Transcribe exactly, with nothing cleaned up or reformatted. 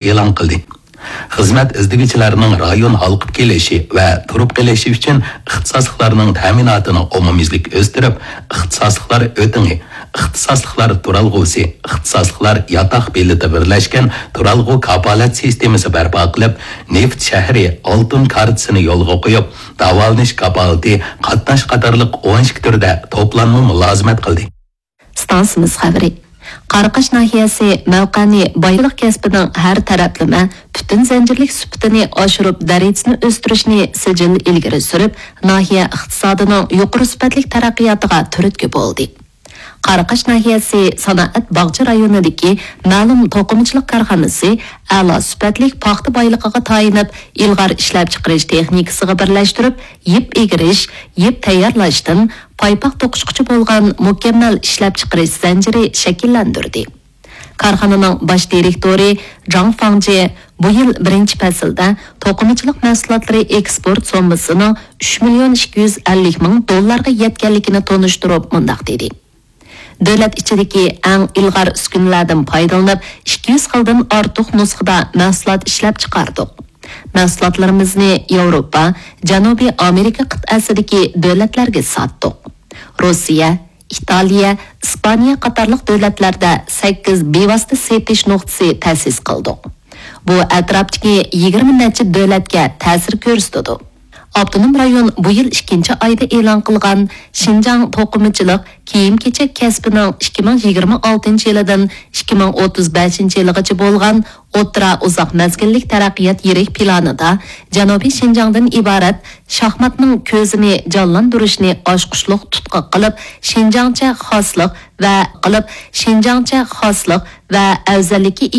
ئېلان قىلدى. خىزمەت ئىزدىگۈچىلەرنىڭ رايون ھالقىپ كېلىشى ۋە تۇرۇپ قېلىشى ئۈچۈن ئىختىساسلىقلارنىڭ تەمىناتىنى ئومۇميۈزلۈك ئۆستۈرۈپ، ئىختىساسلىقلار ئۆتىڭى، ئىختىساسلىقلار تۇرالغۇسى، ئىختىساسلىقلار ياتاق بېلىتى بىرلەشكەن تۇرالغۇ كاپالەت سىستېمىسى بەرپا قىلىپ، نېفىت شەھىرى ئالتۇن كارتىسىنى يولغا قويۇپ، داۋالىنىش كاپالىتى، قاتناش قاتارلىق ئون ئىككى تۈردە توپلانما مۇلازىمەت قىلدى. ئىستانسىمىز خەۋىرى. قاراقاش ناھىيەسى مەۋقەنى بايلىق كەسپىنىڭ ھەر تەرەپلىمە، پۈتۈن زەنجىرلىك سۈپىتىنى ئاشۇرۇپ، دەرىجىسىنى ئۆستۈرۈشنى سىجىل ئىلگىرى سۈرۈپ، ناھىيە ئىقتىسادىنىڭ يۇقىرى سۈپەتلىك تەرەققىياتىغا تۈرتكە بولدى. قاراقاش ناھىيەسى سانائەت باغچە رايونىدىكى مەلۇم توقۇمىچىلىق كارخانىسى ئەلا سۈپەتلىك پاختا بايلىقىغا تايىنىپ، ئىلغار ئىشلەپچىقىرىش تېخنىكىسىغا بىرلەشتۈرۈپ، يىپ ئېگىرىش، يىپ تەييارلاشتىن پايپاق توقۇشقىچە بولغان مۇكەممەل ئىشلەپچىقىرىش زەنجىرى شەكىللەندۈردى. كارخانىنىڭ باش دىرېكتورى جاڭ فاڭجې بۇ يىل بىرىنچى پەسىلدە توقۇمىچىلىق مەھسۇلاتلىرى ئېكسپورت سوممىسىنىڭ ئۈچ مىليون ئىككى يۈز ئەللىك مىڭ دوللارغا يەتكەنلىكىنى تونۇشتۇرۇپ مۇنداق دېدى: دۆلەت ئىچىدىكى ئەڭ ئىلغار ئۈسكۈنىلەردىن پايدىلىنىپ، ئىككى يۈز خىلدىن ئارتۇق نۇسخىدا مەھسۇلات ئىشلەپ چىقاردۇق. مەھسۇلاتلىرىمىزنى ياۋروپا، جەنۇبىي ئامېرىكا قىتئەسىدىكى دۆلەتلەرگە ساتتۇق. روسىيە، ئىتالىيە، ئىسپانىيە قاتارلىق دۆلەتلەردە سەككىز بىۋاسىتە سېتىش نۇقتىسى تەسىس قىلدۇق. بۇ ئەتراپتىكى يىگىرمە نەچچە دۆلەتكە تەسىر كۆرسىتىدۇ. ئاپتونوم رايون بۇ يىل ئىككىنچى ئايدا ئېلان قىلغان شىنجاڭ توقۇمىچىلىق كىيىم-كېچەك كەسپىنىڭ ئىككى مىڭ يىگىرمە ئالتىنچى يىلىدىن ئىككى مىڭ ئوتتۇز بەشىنچى يىلغىچە بولغان ئوتتۇرا ئۇزاق مەزگىللىك تەرەققىيات يىرىك پىلانىدا جەنۇبىي شىنجاڭدىن ئىبارەت شاھماتنىڭ كۆزىنى جانلاندۇرۇشنى ئاچقۇچلۇق تۇتقا قىلىپ، شىنجاڭچە خاسلىق ۋە قىلىپ، شىنجاڭچە خاسلىق ۋە ئەۋزەللىككە